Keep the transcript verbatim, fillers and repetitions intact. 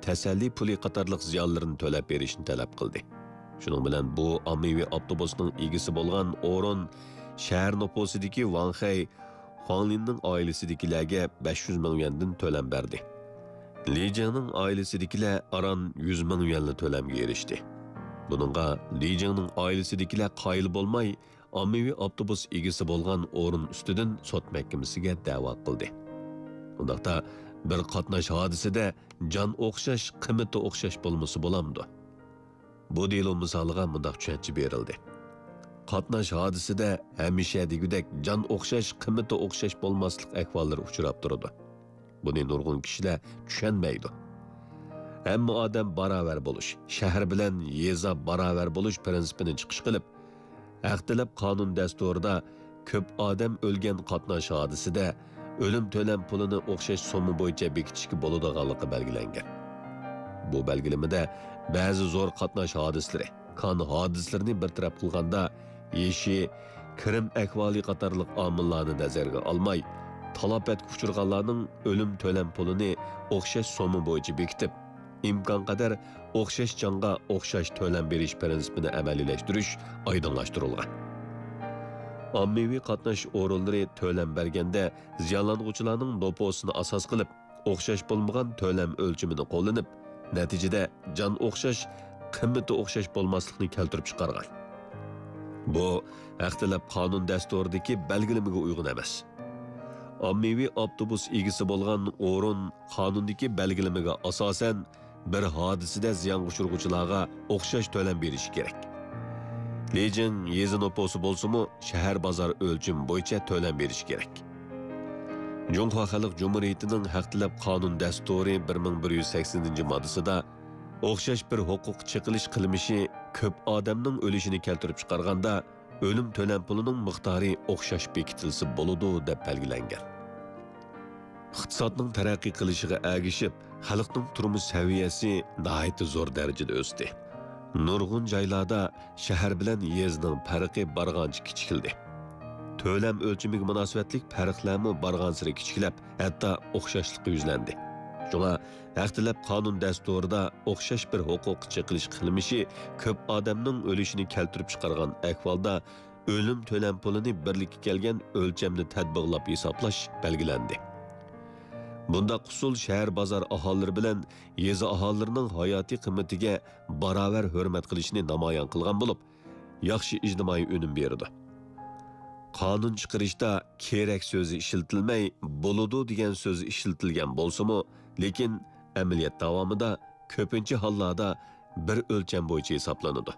تەسەللى پۇلى قاتارلىق زىيانلىرىنى تۆلەپ بېرىشنى تەلەپ قىلدى. شۇنىڭ بىلەن بۇ ئاممىۋى ئاپتوبۇسنىڭ ئىگىسى بولغان ئورۇن شەھەر نوپۇسىدىكى ۋاڭخەي خۇاڭلىننىڭ ئائىلىسىدىكىلەرگە بەش يۈز مىڭ يۈەندىن تۆلەم بەردى. لى جىڭنىڭ ئائىلىسىدىكىلەر ئاران يۈز مىڭ يۈەنلا تۆلەمگە ئېرىشتى. بۇنىڭغا لى جىڭنىڭ ئائىلىسىدىكىلەر قايىل بولماي، ئاممىۋى ئاپتوبۇس ئىگىسى بولغان ئورۇن ئۈستىدىن سوت مەھكىمىسىگە دەۋا قىلدى. ئۇنداقتا، بىر قاتناش ھادىسىدە جان ئوخشاش، قىممىتى ئوخشاش بولمىسا بولامدۇ؟ بۇ دېلو مىسالىغا مۇنداق چۈشەنچە بېرىلدى. قاتناش ھادىسىدە ھەمىشە دېگۈدەك جان ئوخشاش، قىممىتى ئوخشاش بولماسلىق ئەھۋاللىرى ئۇچراپ تۇرىدۇ. بۇنى نۇرغۇن كىشىلەر چۈشەنمەيدۇ. ھەممە ئادەم باراۋەر بولۇش، شەھەر بىلەن يېزا باراۋەر بولۇش پىرىنسىپىنى چىقىش قىلىپ، ھەق تەلەپ قانۇن دەستۇرىدا كۆپ ئادەم ئۆلگەن قاتناش ھادىسىدە ئۆلۈم تۆلەم پۇلىنى ئوخشاش سومما بويىچە بېكىتىشكە بولىدىغانلىقى بەلگىلەنگەن. بۇ بەلگىلىمىدە بەزى زور قاتناش ھادىسىلىرى، كان ھادىسىلىرىنى بىر تەرەپ قىلغاندا، يېشى، كىرىم ئەھۋالى قاتارلىق ئامىللارنى نەزەرگە ئالماي، تالاپەتكە ئۇچرىغانلارنىڭ ئۆلۈم تۆلەم پۇلىنى ئوخشاش سومما بويىچە بېكىتىپ، ئىمكانقەدەر ئوخشاش جانغا ئوخشاش تۆلەم بېرىش پىرىنسىپىنى ئەمەلىيلەشتۈرۈش ئايدىڭلاشتۇرۇلغان. ئاممىۋى قاتناش ئورۇنلىرى تۆلەم بەرگەندە زىيانلانغۇچىلارنىڭ نوپۇسىنى ئاساس قىلىپ، ئوخشاش بولمىغان تۆلەم ئۆلچىمىنى قوللىنىپ، نەتىجىدە جان ئوخشاش، قىممىتى ئوخشاش بولماسلىقنى كەلتۈرۈپ چىقارغان. بۇ ھەق تەلەپ قانۇن دەستۇرىدىكى بەلگىلىمىگە ئۇيغۇن ئەمەس. ئاممىۋى ئاپتوبۇس ئىگىسى بولغان ئورۇن قانۇندىكى بەلگىلىمىگە ئاساسەن، بىر ھادىسىدە زىيانغا ئۇچرىغۇچىلارغا ئوخشاش تۆلەم بېرىشى كېرەك. لى جىڭ يېزا نوپۇسى بولسىمۇ، شەھەر بازار ئۆلچىمى بويىچە تۆلەم بېرىشى كېرەك. جۇڭخۇا خەلق جۇمھۇرىيىتىنىڭ ھەق تەلەپ قانۇن دەستۇرى بىر مىڭ بىر يۈز سەكسىنىنچى ماددىسىدا، ئوخشاش بىر ھوقۇق چېقىلىش قىلمىشى كۆپ ئادەمنىڭ ئۆلۈشىنى كەلتۈرۈپ چىقارغاندا، ئۆلۈم تۆلەم پۇلىنىڭ مىقدارى ئوخشاش بېكىتىلسە بولىدۇ، دەپ بەلگىلەنگەن. ئىقتىسادنىڭ تەرەققىي قىلىشىغا ئەگىشىپ، خەلقنىڭ تۇرمۇش سەۋىيەسى ناھايىتى زور دەرىجىدە ئۆستى. نۇرغۇن جايلاردا شەھەر بىلەن يېزىنىڭ پەرقى بارغانچە كىچىكلىدى. تۆلەم ئۆلچىمىگە مۇناسىۋەتلىك پەرقلەرمۇ بارغانسېرى كىچىكلەپ، ھەتتا ئوخشاشلىققا يۈزلەندى. شۇڭا ھەق تەلەپ قانۇن دەستۇرىدا ئوخشاش بىر ھوقۇق چېقىلىش قىلمىشى كۆپ ئادەمنىڭ ئۆلۈشىنى كەلتۈرۈپ چىقارغان ئەھۋالدا، ئۆلۈم تۆلەم پۇلىنى بىرلىككە كەلگەن ئۆلچەمدە تەتبىقلاپ ھېسابلاش بەلگىلەندى. بۇنداق ئۇسۇل شەھەر بازار ئاھالىلىرى بىلەن يېزا ئاھالىلىرىنىڭ ھاياتىي قىممىتىگە باراۋەر ھۆرمەت قىلىشنى نامايان قىلغان بولۇپ، ياخشى ئىجتىمائىي ئۈنۈم بېرىدۇ. قانۇن چىقىرىشتا كېرەك سۆزى ئىشلىتىلمەي، بولىدۇ دېگەن سۆز ئىشلىتىلگەن بولسىمۇ، لېكىن ئەمەلىيەت داۋامىدا كۆپىنچە ھاللاردا بىر ئۆلچەم بويىچە ھېسابلىنىدۇ.